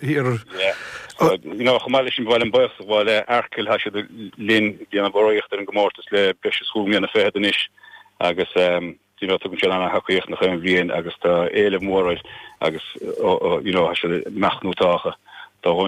Ar. Yeah. So, you know, chomh maith leis sin, ba mhaith liom buíochas a ghabháil le Arkle, tá siad linn ag déanamh urraíocht ar an gcomórtas le breis is chúig mbliana fichead anois agus um, you know, tugann siad an-thacaíocht nach aon bhliain agus tá éileamh mór air agus you know, tá siad ag meath nó tácha. Tá dhó